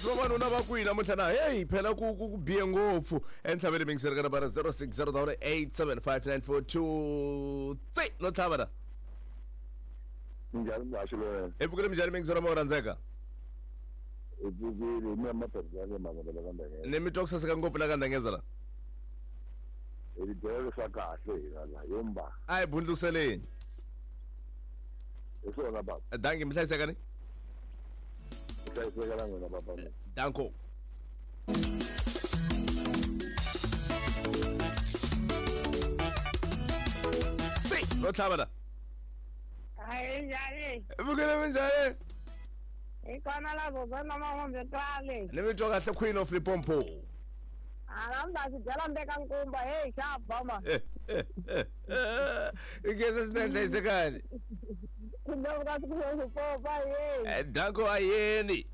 Vavanuna va kwihi namuntlha na heyi phela ku ku ku bihe ngopfu entlhaveni mingiseri ka nambara 060 875 tsi no tlhava na. Minjhani muhaxi loyena? Hi pfukile minjhani mingiseri ma u rhandzeka? Hi pfukile mina maphepha mavele ka ndengeza. Ni mi twa ku saseka ngopfu la ka ndengeza la. Hi ti byela leswa kahle hina la yomba. A hi bundluseleni. Hi swona baba. Danki mi hlayiseka ni? Hlayiseka na n'wina baba mina. Danko. Tsi no tlhava la. Hayi njhani? Pfukile minjhani? Hi kona la Zozana Mahombe kwale. Ni mi twa kahle Queen of Limpopo. A na xi byela mbeka nkumba hey xa bama. Ikeza swinene hlayisekani. Ku ka ku popa hey. Danko ayeni.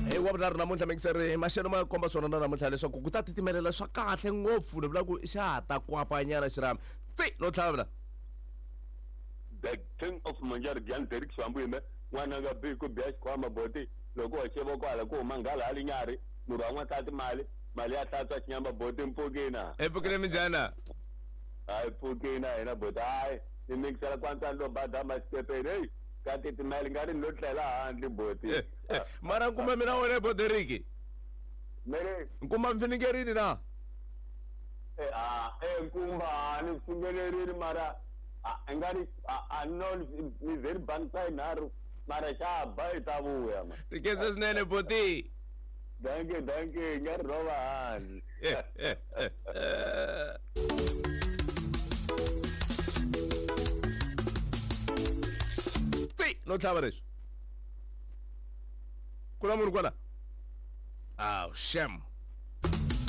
Hey, wa vunharhu namuntlha mingiseri maxelo ma komba swona na namuntlha leswaku ku ta titimelela swa kahle ngopfu ni vula ku xa ha ta kwapanyana xirhami tsi no tlhavula. The King of Manjari Jan Derek Swambu yime n'wana nga bi ku biya xikhwama boti loko wa xeva kwala ku huma nghala hali nyari murhu wa n'wansati mali mali ya hlantswa xinyama boti mpfukina. Epfukile minjhana? Hayi pfukina hina boti hayi ni mikisela kwantsani lo bada masitepeni heyi ka titimela nga ri ni lo tlela handle boti. Mara nkuma mina wena boderiki Mele nkuma mfiningerini na? Nkumba ni pfumelerini mara i nga ri a no ni ze ni bangisa yinharhu mara xa ba i ta vuya ma. Rikeza swinene boti. Danke danke nga ri rova handle. Tsi no tlhava leswi. Ku na munhu kwala? Aw shem.